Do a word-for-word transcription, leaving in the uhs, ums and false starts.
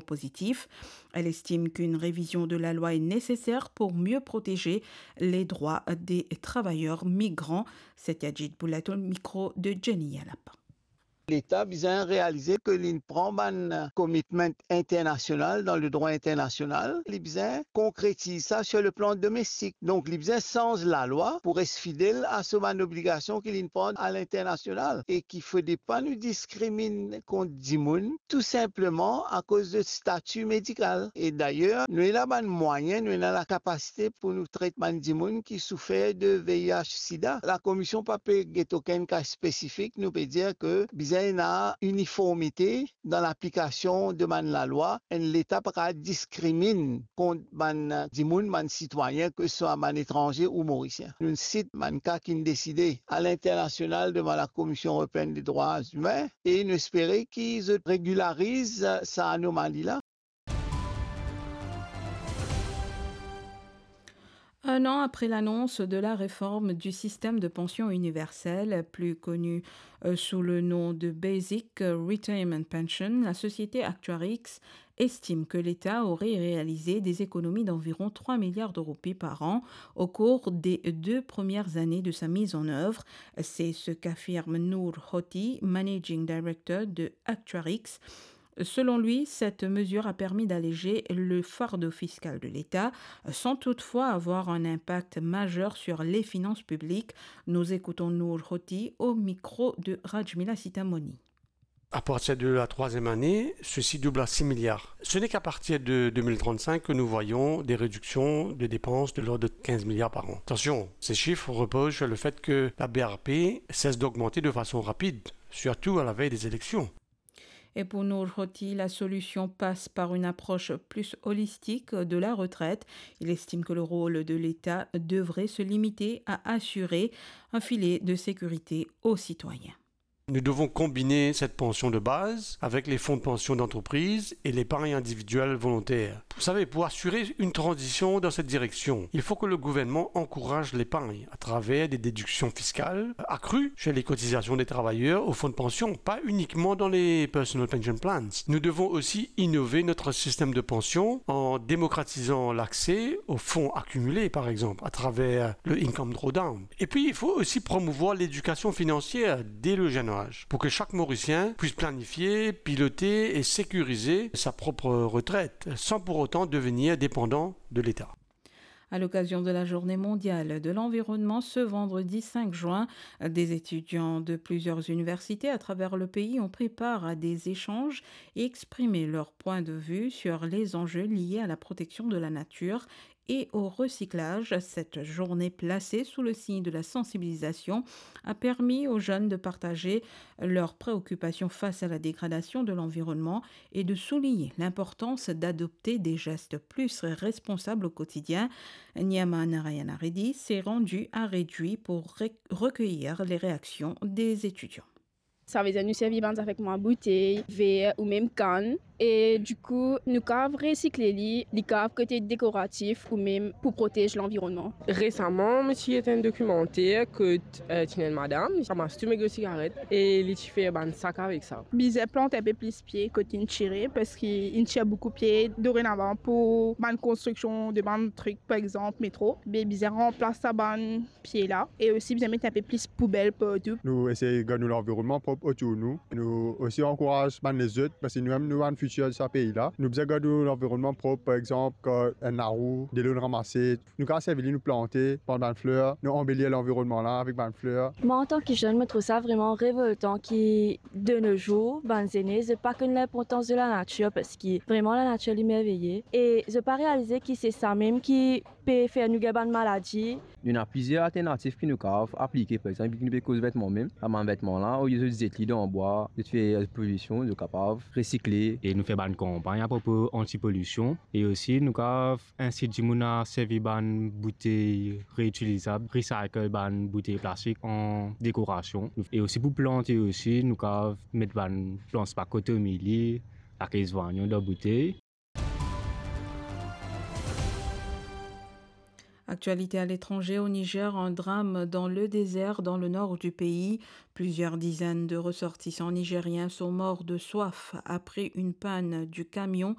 pozitif. Elle estime qu'une révision de la loi est nécessaire pour mieux protéger les droits des travailleurs migrants. Satyajit Bhullad au micro de Jenny Yalapa. Leta bizin realize ke li pran bann commitment internasional dan ledrwa internasional, li bizin konkretiz sa sur le plan domestik. Donk, li bizin sanz lalwa pou res fidel a so bann obligasion ki li pran a linternasional e ki fode pa nou diskriminn kont dimoun, tou sinpleman akoz de stati medikal. E dayer, nou ena bann mwayin, nou ena lakapasite pou nou tret bann dimoun ki soufer de V I H sida. Lakomision pa pe get okenn ka spesifik, nou pe dir ke bizin ena iniformite dan laplikasion de bann lalwa, enn leta pa kapav diskriminn kont bann dimoun, bann sitwayin, ke swa bann etranze ou morisien. Nou sit bann ka ki'nn deside a linternasional devan Lakomision Eropeinn de Drwa Imin e nou espere ki zot regilariz sa anomali la. Un an après l'annonce de la réforme du système de pension universelle, plus connu, euh, sous le nom de Basic Retirement Pension, la société Actuarix estime que l'État aurait réalisé des économies d'environ trois milliards de roupies par an au cours des deux premières années de sa mise en œuvre. C'est ce qu'affirme Noor Hoti, managing director de Actuarix. Selon lui, cette mesure a permis d'alléger le fardeau fiscal de l'État, sans toutefois avoir un impact majeur sur les finances publiques. Nous écoutons Noor Hoti au micro de Rajmila Sitamoni. À partir de la troisième année, ceci double à six milliards. Ce n'est qu'à partir de deux mille trente-cinq que nous voyons des réductions de dépenses de l'ordre de quinze milliards par an. Attention, ces chiffres reposent sur le fait que la B R P cesse d'augmenter de façon rapide, surtout à la veille des élections. Et pour Noor Hoti, la solution passe par une approche plus holistique de la retraite. Il estime que le rôle de l'État devrait se limiter à assurer un filet de sécurité aux citoyens. Nous devons combiner cette pension de base avec les fonds de pension d'entreprise et l'épargne individuelle volontaire. Vous savez, pour assurer une transition dans cette direction, il faut que le gouvernement encourage l'épargne à travers des déductions fiscales accrues sur les cotisations des travailleurs au fonds de pension, pas uniquement dans les personal pension plans. Nous devons aussi innover notre système de pension en démocratisant l'accès aux fonds accumulés, par exemple, à travers le income drawdown. Et puis, il faut aussi promouvoir l'éducation financière dès le jeune âge, pour que chaque Mauricien puisse planifier, piloter et sécuriser sa propre retraite, sans pour autant devenir dépendant de l'État. À l'occasion de la Journée mondiale de l'environnement, ce vendredi cinq juin, des étudiants de plusieurs universités à travers le pays ont pris part à des échanges et exprimé leur point de vue sur les enjeux liés à la protection de la nature et au recyclage. Cette journée placée sous le signe de la sensibilisation a permis aux jeunes de partager leurs préoccupations face à la dégradation de l'environnement et de souligner l'importance d'adopter des gestes plus responsables au quotidien. Niama Narayana Reddy s'est rendue à Réduit pour rec-, recueillir les réactions des étudiants. Savedir nou servi bann zafar kouma boutey, ver ou mem kann. E dikou, nou kav resikle li, li kav kot dekoratif ou mem pou protez lanvironnman. Resaman, mo ti get enn dokimanter kot, eh, ti ena enn madam, li ramas tou me gro sigaret e li ti fer bann sak avek sa. Bizin plant enpe plis pie kot inn tire, parski inn tir boukou pie dorenavan pou bann konstriksion de bann trik, par exanp, metro. Be bizin ranplas sa bann pie la, e osi bizin met enpe plis poubel partou. Nou esey gard nou lanvironnman prop otour nou. Nou osi ankouraz bann lezot, parski nou mem nou bann fitir sa pei la. Nou bizin gard nou lanvironnman prop, par exanp, kan enn larou, delo inn ranmase, nou kav servi li, nou plante bann, bann fler, nou anbelir lanvironnman la avek bann fler. Mwa, antan ki zenn, mo trouv sa vreman revoltan ki, de nos jours, bann zene, zot pa konn linportans de lanatir, parski vreman lanatir li merveye, e zot pa realize ki se sa mem ki pe fer nou gagn bann maladi. Nou ena plizier alternatif ki nou kav aplike, par exanp, ki nou pe koz vetman mem, sa bann vetman la, olie zot zet li dan bwa, zot fer pozision, zot kapav resikle. E nou fer bann kanpagn apropo antipolision, e osi nou kav insit dimoun a servi bann boutey reutilizab, recycle bann boutey plastik an dekorasion. E osi pou plante osi, nou kav met bann plant spak kot omilie, lakez vanyon dan boutey. Actualité à l'étranger, au Niger, un drame dans le désert, dans le nord du pays. Plusieurs dizaines de ressortissants nigériens sont morts de soif après une panne du camion